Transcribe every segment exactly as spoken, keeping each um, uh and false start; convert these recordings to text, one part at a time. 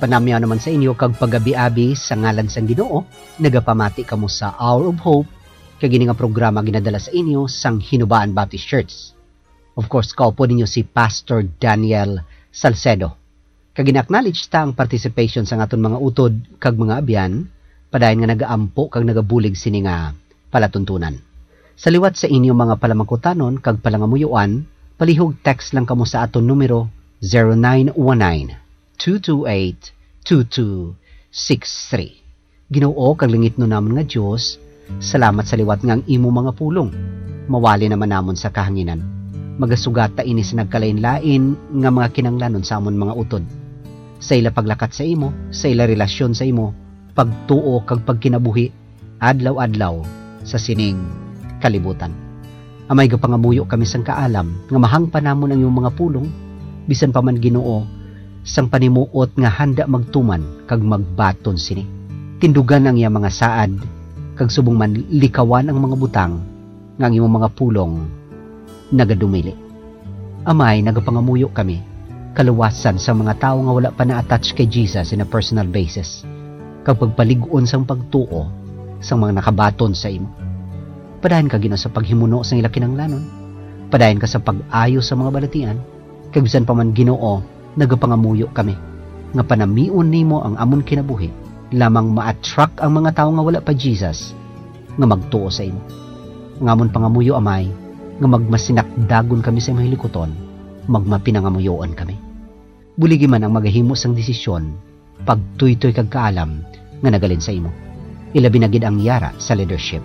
Panamyaw naman sa inyo kag pagabi-abi sa ngalan sang Ginoo. Nagapamati kamo sa Hour of Hope, kag ini nga programa ginadala sa inyo sang Hinubaan Baptist Church. Of course, kaupod ninyo si Pastor Daniel Salcedo. Kag gina-acknowledge ta ang participation sang aton mga utod kag mga abyan, padayon nga nagaampo kag nagabulig sini nga palatuntunan. Sa liwat sa inyo mga palamangkutanon kag palangamuyoan, palihog text lang kamo sa aton numero, zero nine one nine, two two eight, two two six three. Ginoo kag langitnon namon nga Dios, salamat sa liwat nga ang imo mga pulong mawali naman namon sa kahanginan. Magasugat ta ini sa nagkalain-lain nga mga kinahanglanon sa amon mga utod, sa ila paglakat sa imo, sa ila relasyon sa imo, pagtuo kag pagkinabuhi adlaw-adlaw sa sining kalibutan. Amay, gapangamuyo kami sang kaalam nga mahangpan namon ang imong mga pulong, bisan pa man, Ginoo, sang panimuot nga handa magtuman kag magbaton sini. Tindugan ang iya mga saad, kag subong man likawan ang mga butang nga ang imong mga pulong nagadumili. Amay, nagapangamuyo kami kaluwasan sa mga tawo nga wala pa na-attach kay Jesus in a personal basis, kag pagpalig-on sang pagtuo sang mga nakabaton sa imo. Padayon ka, Ginoo, sa paghimuno sang ila kinahanglanon. Padayon ka sa pag-ayo sa mga balatian. Kag bisan pa man, Ginoo, nagapangamuyo kami nga panamion nimo ang amon kinabuhi, lamang ma-attract ang mga tawo nga wala pa Jesus nga magtuo sa imo. Ang amon pangamuyo, Amay, nga magmasinakdagon kami sa imong hilikuton, magmapinangamuyoon kami. Buligi man ang magahimo sang desisyon, pagtuytoy kag kaalam nga nagalin sa imo. Ilabi na gid ang yara sa leadership.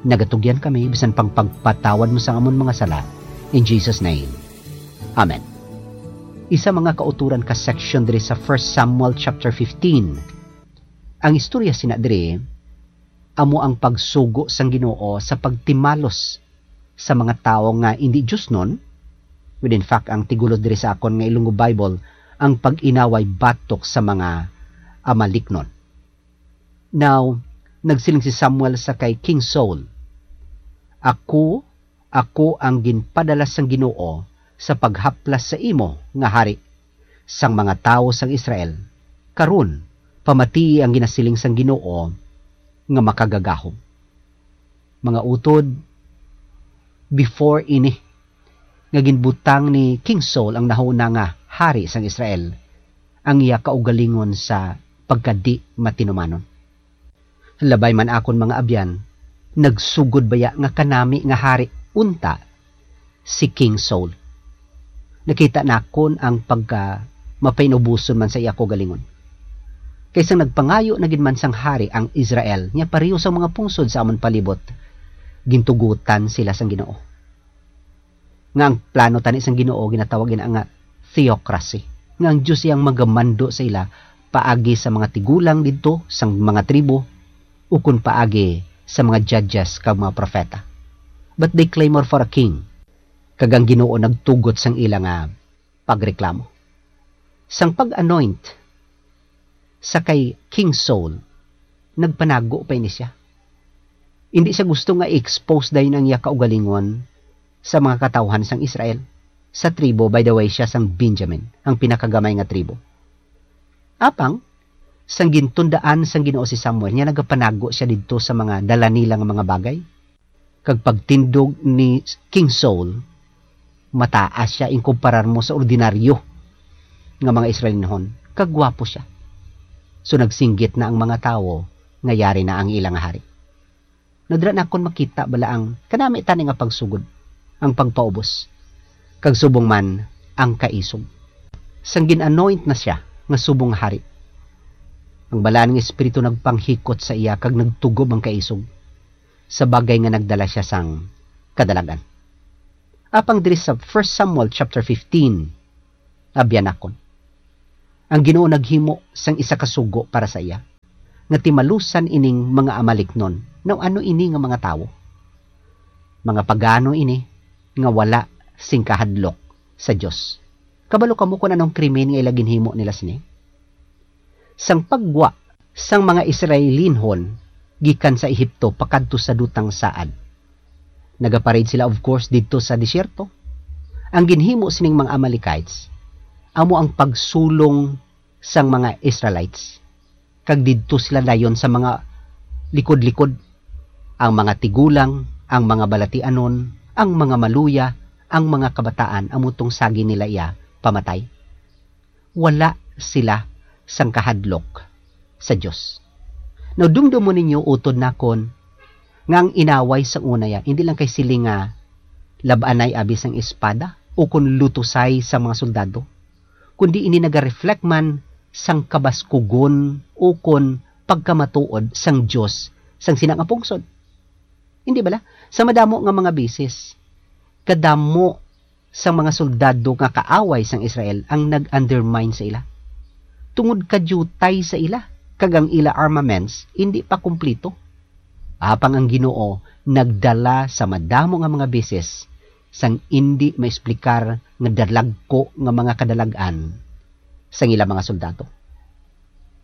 Nagatugyan kami bisan pang pagpatawad mo sa amon mga sala. In Jesus' name, amen. Isa mga kauturan ka section diri sa First Samuel chapter fifteen. Ang istorya sina diri amo ang pagsugo sang Ginoo sa pagtimalos sa mga tawo nga indi diosnon. Well, in fact, ang tigulo diri sa akon nga Ilonggo Bible, ang pag-inaway batok sa mga Amalicnon. Now, nagsiling si Samuel sa kay King Saul, "Ako, ako ang ginpadala sang Ginoo sa paghaplas sa imo nga hari sang mga tawo sang Israel. Karon, pamatii ang ginasiling sang Ginoo nga makagagahom." Mga utod, before ini nga ginbutang ni King Saul ang nahuna nga hari sang Israel, ang iya kaugalingon sa pagkadi-matinumanon. Labay man akon, mga abyan, nagsugod baya nga kanami nga hari unta si King Saul? Nakita nakon ang pagka mapainuboson man sa iya kaugalingon. Kay sang nagpangayo na gid man sang hari ang Israel, nya pareho sa mga pungsod sa amon palibot, gintugutan sila sang Ginoo. Nga ang plano tani sang Ginoo ginatawag ina nga theocracy, nga ang Dios iya ang magamando sa ila paagi sa mga tigulang didto sang mga tribo, ukon paagi sa mga judges kag mga propeta. But they clamor for a king, kag ang Ginoo nagtugot sang ila nga pagreklamo. Sang pag-anoint sa kay King Saul, nagpanago pa ini sia. Indi sia gusto nga i-expose dayon ang iya kaugalingon sa mga katawhan sang Israel. Sa tribo, by the way, sia sang Benjamin, ang pinakagamay nga tribo. Apang, sang gintundaan sang Ginoo si Samuel, nya nagapanago sia didto sa mga dala nila nga mga bagay. Kag pagtindog ni King Saul, mataas sia in kumparar mo sa ordinaryo nga mga Israelinhon, kag gwapo sia. So, nagsinggit na ang mga tawo nga yari na ang ila nga hari. Nadra na kon makita bala ang kanami tani nga pagsugod, ang pagpaubos, kag subong man ang kaisog. Sang gin-anoint na sia nga subong nga hari, ang Balaan nga Espiritu nagpanghikot sa iya kag nagtugob ang kaisog, sa bagay nga nagdala sia sang kadalagan. Apang diri sa First Samuel chapter fifteen, abyan nakon, ang Ginoo naghimo sang isa ka sugo para sa iya, nga timalusan ining mga Amalicnon. Now, ano ini nga mga tawo? Mga pagano ini nga wala sing kahadlok sa Dios. Kabalo kamo kon anong krimen nga ila ginhimo nila sini? Sang paggwa sang mga Israelinhon gikan sa Ehipto pakadto sa Dutang Saad, nagaparade sila, of course, didto sa disyerto. Ang ginhimo sining mga Amalekites amo ang pagsulong sang mga Israelites, kag didto sila dayon sa mga likod-likod, ang mga tigulang, ang mga balatianon, ang mga maluya, ang mga kabataan, amo tong sagi nila iya pamatay. Wala sila sang kahadlok sa Dios. Now, dumdumon ninyo utod nakon nga ang inaway sa una ya, hindi lang kay siling nga lab-anay abi sang espada o kon lutusay sa mga soldado, kundi ini naga-reflect man sang kabaskugon o kon pagkamatuod sang Dios sang sina nga pungsod. Hindi bala? Sa madamo nga mga beses, kadamo sang mga soldado nga kaaway sang Israel ang nag-undermine sa ila, tungod kadiyutay sa ila, kag ang ila armaments indi pa kumpleto. Apang ang Ginoo nagdala sa madamo nga mga beses sang indi maesplikar nga dalagko nga mga kadalag-an sang ila mga soldado.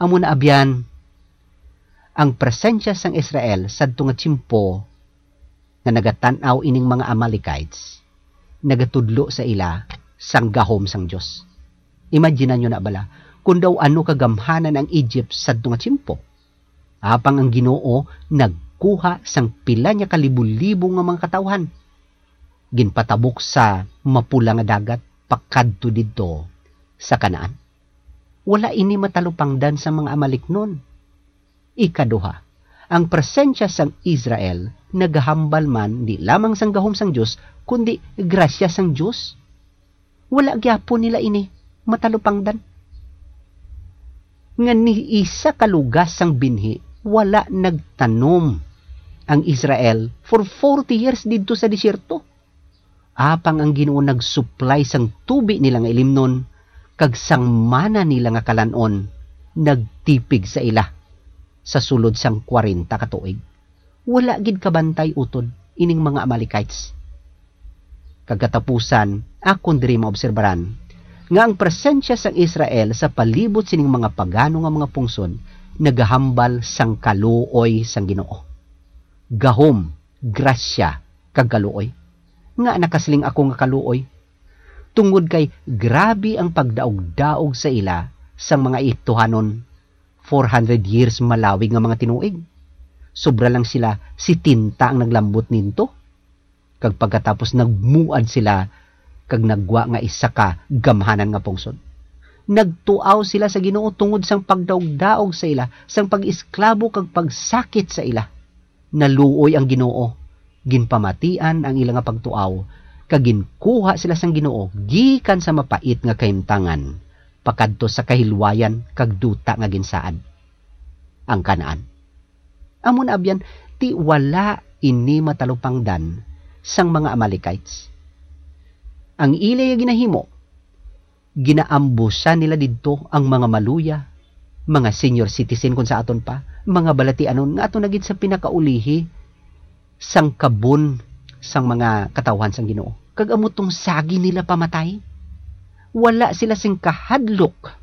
Amo na abyan, ang presensya sang Israel sadto nga tiyempo nga nagatan-aw ining mga Amalekites nagatudlo sa ila sang gahom sang Dios. Imagine nyo na bala kung daw ano kagamhanan ang Egypt sadto nga tiyempo. Apang ang Ginoo nagkuha sang pila niya kalibo-libo nga mga katawhan, ginpatabok sa mapula nga dagat pakadto didto sa Canaan. Wala ini matalupangdan sa mga Amaliknon. Ikaduha, ang presensya sang Israel nagahambal man di lamang sang gahom sang Dios, kundi grasya sang Dios. Wala gyapon nila ini matalupangdan. Nga ni isa ka lugas sang binhi, wala nagtanom ang Israel for forty years didto sa desierto. Apang ang Ginoo nagsuplay sang tubi nila nga ilimnon, kag sang mana nila nga kalan-on, nagtipig sa ila sa sulod sang kwarenta ka tuig. Wala gid kabantay utod ining mga Amalekites. Kag katapusan, akon diri maobserbaran nga ang presensya sang Israel sa palibot sining mga pagano nga mga pungsod nagahambal sang kaluoy sang Ginoo. Gahom, grasya, kag kaluoy. Nga nakasiling ako nga kaluoy? Tungod kay grabe ang pagdaog-daog sa ila sang mga Ehiptohanon, four hundred years malawig nga mga tinuig. Sobra lang sila setenta ang naglambot ninto. Kag pagkatapos nagmuad sila kag naggwa nga isa ka gamhanan nga pungsod. Nagtuaw sila sa Ginoo tungod sang pagdaog-daog sa ila, sang pag-esklabo kag pagsakit sa ila. Naluoy ang Ginoo, ginpamatian ang ila nga pagtuaw, kag ginkuha sila sang Ginoo gikan sa mapait nga kahimtangan pakadto sa kahilwayan kag duta nga ginsaad, ang Canaan. Amo na abyan, ti wala ini matalupangdan sang mga Amalekites. Ang ila ginahimo, ginaambusan nila didto ang mga maluya, mga senior citizen kon sa aton pa, mga balatianon nga ato na gid sa pinakaulihi sang kabon sang mga katawhan sang Ginoo. Kag amo tong sagi nila pamatay. Wala sila sing kahadlok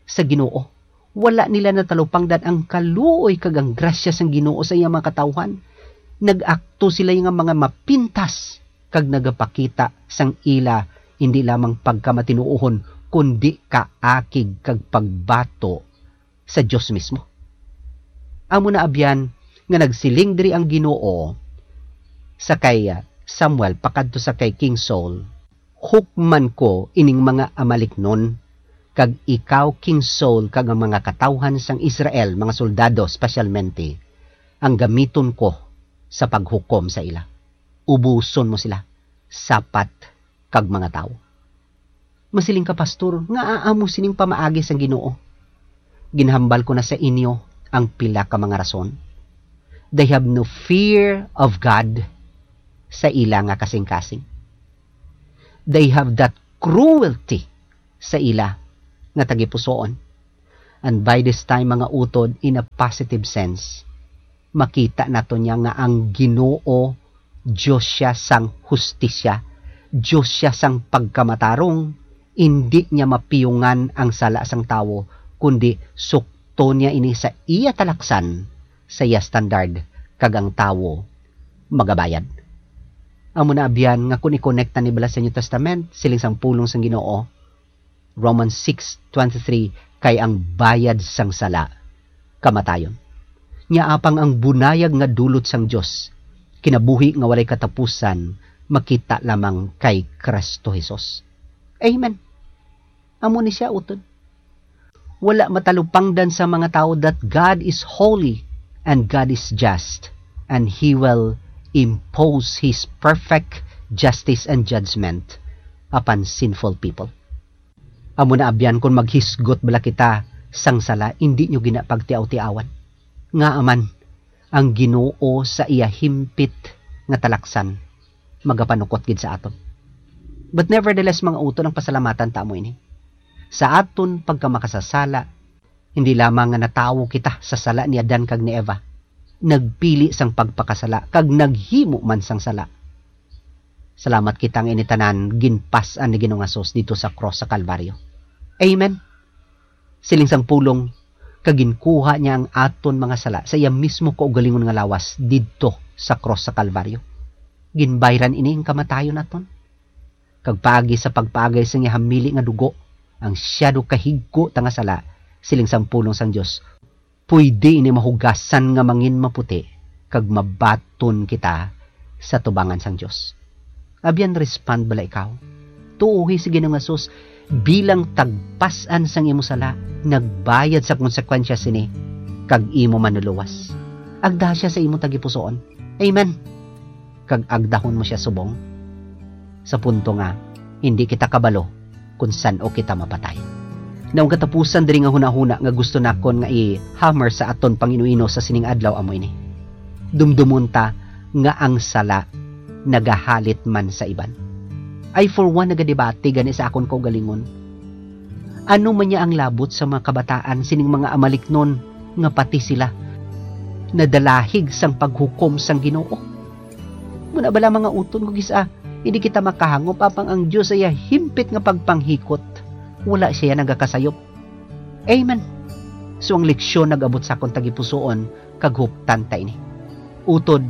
sa Ginoo. Wala nila natalupangdan ang kaluoy kag ang grasya sang Ginoo sa iyang mga katawhan. Nag-akto sila nga mga mapintas kag nagapakita sang ila hindi lamang pagkamatinuohon, kundi kaakig kag pagbato sa Dios mismo. Amo na abyan nga nagsiling diri ang Ginoo sa kay Samuel pakadto sa kay King Saul, "Hukman ko ining mga Amaliknon, kag ikaw, King Saul, kag ang mga katawhan sang Israel, mga soldado, spesyalmente, ang gamiton ko sa paghukom sa ila. Ubuson mo sila, sapat kag mga tawo." Masiling ka, "Pastor, ngaa amo sining pamaagi sang Ginoo?" Ginhambal ko na sa inyo ang pila ka mga rason. They have no fear of God sa ila nga kasing-kasing. They have that cruelty sa ila nga tagipusoon. And by this time, mga utod, in a positive sense, makita nato niya nga ang Ginoo, Dios siya sang hustisya, Dios siya sang pagkamatarong. Indi niya mapiyungan ang sala sang tawo, kundi sukton niya ini sa iya talaksan, sa iya standard, kag ang tawo magabayad. Amo na abyan nga kung i-connect ta ni bala sa New Testament, siling sang pulong sang Ginoo, Romans six twenty-three, Kay ang bayad sang sala, kamatayon. Nya apang ang bunayag nga dulot sang Dios, kinabuhi nga walay katapusan, makita lamang kay Kristo Jesus. Amen. Amo ni siya, utod. Wala matalupangdan sa mga tawo that God is holy and God is just, and He will impose His perfect justice and judgment upon sinful people. Amo na, abyan, kon maghisgot bala kita sang sala, indi nyo gina pagtiaw-tiawan. Ngaa man, ang Ginoo sa iya himpit nga talaksan magapanukot gid sa aton. But nevertheless, mga utod, ang pasalamatan ta amo ini. Sa aton pagkamakasasala, hindi lamang nga natawo kita sa sala ni Adan kag ni Eva, nagpili sang pagpakasala kag naghimo man sang sala. Salamat kita nga ini tanan ginpas-an ni Ginoong Hesus didto sa krus sa Kalbaryo. Amen. Siling sang pulong, kag ginkuha niya ang aton mga sala sa iya mismo kaugalingon nga lawas didto sa krus sa Kalbaryo. Ginbayran ini ang kamatayon naton. Kag paagi sa pagpaagay sang iya hamili nga dugo, ang siyado ka higko ta nga sala, siling sang pulong sang Dios, pwede ini mahugasan nga mangin maputi, kag mabaton kita sa tubangan sang Dios. Abyan, respond bala ikaw? Tuohi si Ginoong Hesus bilang tagpas-an sang imo sala, nagbayad sa konsekwensya sini, kag imo manluluwas. Agda siya sa imo tagipusoon. Amen. Kag agdahon mo siya subong, sa punto nga hindi kita kabalo kon san-o kita mapatay. Now, ang katapusan diri nga hunahuna nga gusto nakon nga i-hammer sa aton pang-inuino sa sining adlaw amo ini. Dumdumon ta nga ang sala nagahalit man sa iban. I, for one, nagadebate gani sa akon kaugalingon. Ano man niya ang labot sa mga kabataan sining mga amaliknon nga pati sila nadalahig sang paghukom sang Ginoo? Muna bala, mga utod, kung isa, hindi kita makahangop apang ang Dios sa iya himpit nga pagpanghikot, wala siya nagakasayop. Amen. So, ang leksyon nag-abot sa akon tagipusoon, kag huptan ta ini. Utod,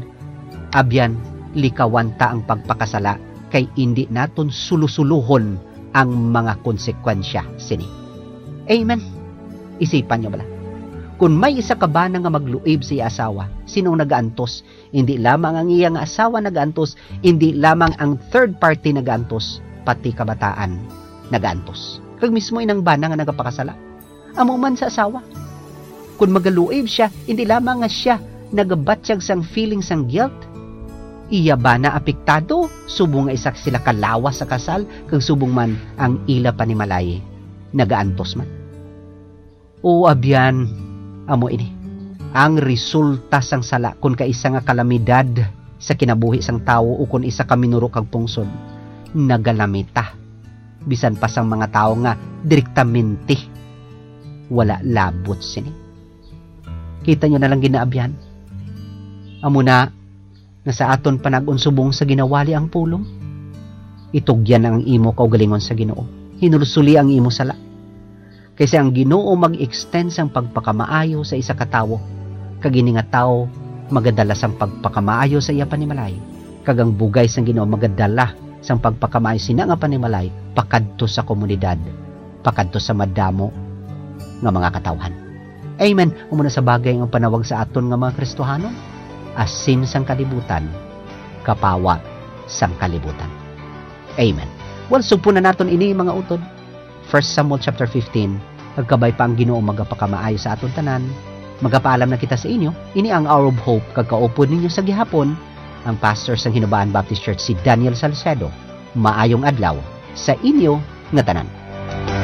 abyan, likawan ta ang pagpakasala, kay indi naton sulusuluhon ang mga konsekwensya sini. Amen. Isipan niyo bala, kun may isa ka bana nga magluib sa iya asawa, sino ang nagaantos? Indi lamang ang iya nga asawa nagaantos, indi lamang ang third party nagaantos, pati kabataan nagaantos. Kag mismo inang bana nga nagapakasala, amo man sa asawa. Kun magaluib sia, indi lamang nga sia nagabatyag sang feeling sang guilt, iya bana apektado, subong nga isa sila ka lawas sa kasal, kag subong man ang ila panimalay nagaantos man. O abyan, amo ini ang resulta sang sala, kun kaisa nga kalamidad sa kinabuhi sang tawo, o kun isa ka minuro kag pungsod, nagalamita, bisan pa sang mga tawo nga direktamente wala labot sini. Kita niyo na lang, ginaabyan. Amo na nga sa aton panag-on subong sa ginawali ang pulong, itugyan ang imo kaugalingon sa Ginoo. Hinulsoli ang imo sala. Kay sa ang Ginoo mag-extend sang pagpakamaayo sa isa ka tawo, kag ini nga tawo magadala sang pagpakamaayo sa iya panimalay, kag ang bugay sang Ginoo magadala sang pagpakamaayo sina nga panimalay pakadto sa komunidad, pakadto sa madamo nga mga katawhan. Amen. Amo na sa bagay ang panawag sa aton nga mga Kristohanon, asin sang kalibutan, kapawa sang kalibutan. Amen. Well, sugpo na naton ini, mga utod. First Samuel chapter fifteen, kag kabay pa ang Ginoo magapakamaayo sa aton tanan. Magapaalam na kita sa inyo. Ini ang Hour of Hope, kag kaupod ninyo sa gihapon, ang pastor sang Hinubaan Baptist Church, si Daniel Salcedo. Maayong adlaw sa inyo nga tanan.